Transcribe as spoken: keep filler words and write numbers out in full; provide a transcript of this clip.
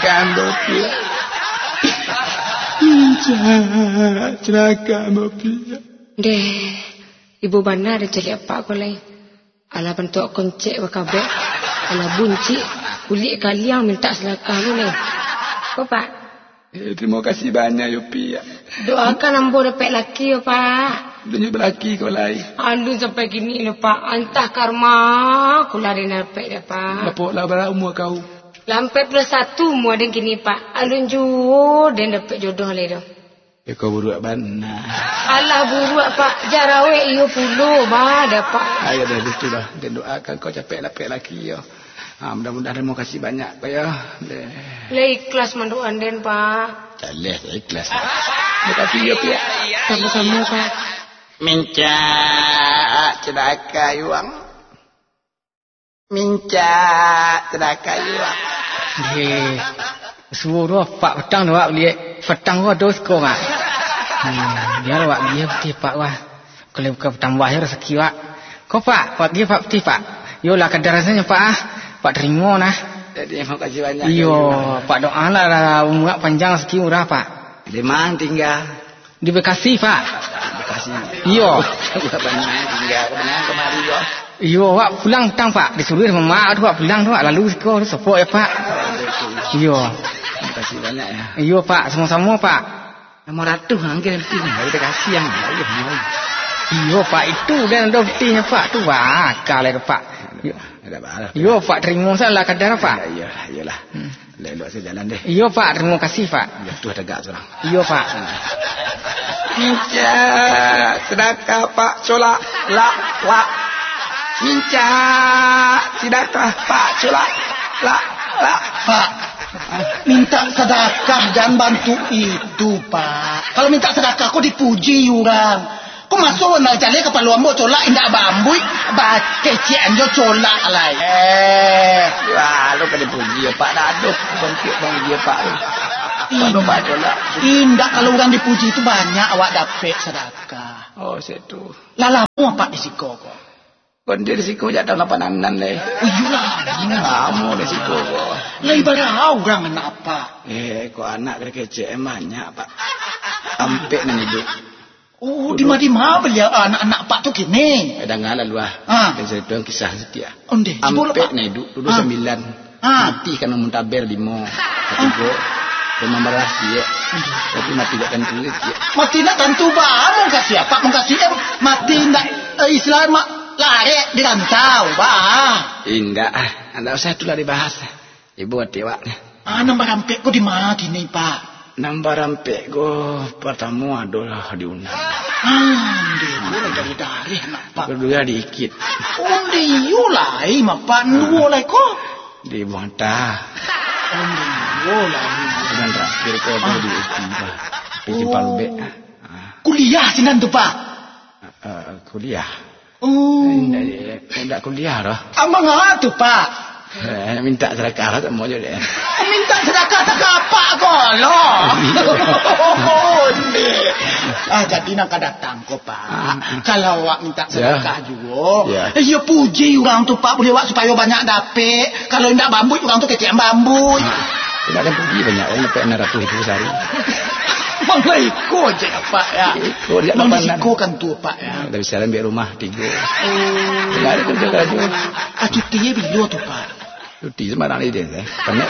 Ambo piak. Pincak, cilaka ambo piak. Deh, ibo bana den caliak apak ko lai. Alah bantuak koncek bakabek. Alah buncik, kulik kaliang mintak sadakah ko lai. Ko, Pak? Eh, tarimo kasih banyak yo, Piak. Doakan ambo dapek laki yo, Pak. Alun nyo balaki ko lai. Alun sampai kini lo, Pak. Antah karma, kulah den dapek dah, Pak. Bapok lah bara umua kau? Lah ampek puluah satu umua den kini, Pak. Alun juo den dapek jodoh lai doh. Eh, kau buruak bana. Alah buruak, Pak. Jarawek iyo pulo, bah, dah, Pak. Ayo dah, itu dah. Den doakan kau capek dapek laki yo. Ha, mudah-mudahan, tarimo kasih banyak, Pak, yo. Deh. Lah ikhlas mandoakan den, Pak. Jaleh, ikhlas. Terima kasih yo, Piak. Samo-samo, Pak. Mincak, cilaka yuang. Mincak, cilaka yuang. Deh, suruah Pak patang tu, Pak, baliak. Patang ko ado siko, Pak. Hmm, biar awak baliak putih, Pak, wah. Kalau bukan patang buah yo rasaki, Pak. Ko, Pak, Pak, baliak, Pak, putih, Pak. Yo lah, kadar rasanya, Pak, ah. Pak tarimo nah. Jadi, makasih banyak. Iyo, Pak, doalah umua panjang, rasaki murah, Pak. Di mana tinggal? Di Bekasi, Pak. Bekasi. Iyo. Bukan bana tinggal, bana kamari yo. Iyo, awak pulang tang, Pak. Disuruah mama tu, Pak, pulang tu, Pak. Lalu siko tu sopok yo, Pak. Iyo. Terima kasih banyak yo. Iyo, Pak. Samo-samo, Pak. Nomor ratuih angke nanti ni. Dari Bekasi yang. Iyo, Pak. Itu kan ado putihnyo, Pak. Tu, Pak. Akal itu, Pak. Iyo. Ada apa? Iyo, Pak. Tarimo salah kadar, Pak. Iyo, iyolah. Hmm. Elok-elok sajo jalan deh. Iyo, Pak. Tarimo kasih, Pak. Jatuah tagak surang. Iyo, Pak. Mincak sadakah, Pak, colak, lak, lak. Mincak sadakah, Pak, colak, lak, lak. Pak, mintak sadakah jan bantuak itu, Pak. Kalau mintak sadakah ko dipuji urang. Ko maso nan jaleh kapalo ambo colak indak baambuik, bakecek anjo colak lai. Eh, wah, lo ka dipuji yo, Pak, dah aduh, bantuak bang dia, Pak. Indak, Pak, colak. Indak, kalau urang dipuji tu banyak awak dapek sadakah. Oh, situ. Lah lamo apak di siko ko? Kon di siko jak taun lapan anam lai. Oh, iyolah. Lamo di siko ko. Lai bara urang anak apak? Eh, ko anak kecek banyak, Pak. Ampek nan iduik. Oh, dima-dima baliau anak-anak apak tu kini? Eh, danga lah lu ah. Ah. Den caritoan kisah saketek ah. Ondeh, cubolah, Pak. Ampek nan iduik, duo sambilan. Ah. Mati karano muntaber limo. Katigo, rumah marah ciek. Tapi mati dak tantu ciek. Mati dak tantu, bah. Mungkasi apak, mungkasi, eh, mati ndak, eh, istilah mak larek di rantau, bah. Indak ah. Ndak usah itulah dibahas. Ibo ati awak. Ah, nan barampek ko di ma kini, Pak? Nan barampek ko, partamo adolah di Unan. Ah, ondeh, iyo lah dari dareh anak Pak. Kaduo di Ikit. Ondeh, iyo lai, Pak. Duo lai ko? Di Buang Tah. Ondeh, iyo lai. Nan terakhir ko tu di U P, Pak. Di Simpang Lubek. Ah. Kuliah sinan tu, Pak? Ah, ah, kuliah. Oh. Indak, indak kuliah doh. Amang ah tu, Pak. Eh, mintak sadakah lah, samo jo dek. Mintak sadakah tak apak ko lo. Ah, jadi nan ka datang ko, Pak. Ah, ah. Kalau awak mintak sadakah juo, ya, puji urang tu, Pak, buliah awak supayo banyak dapek. Kalau indak bambuik, urang tu kecek bambuik. Ah, indak ado puji banyak, urang dapek anam ratuih ribu sahari. Mangko iko je, Pak, ya. Iko je. Mangko iko kan tu, Pak, ya. Dah bisa ambil rumah. Tigo. Oh. Ndak ado karajo-karajo. Ah, cuti bilo tu, Pak? Cuti sambarang lai, eh. Panek.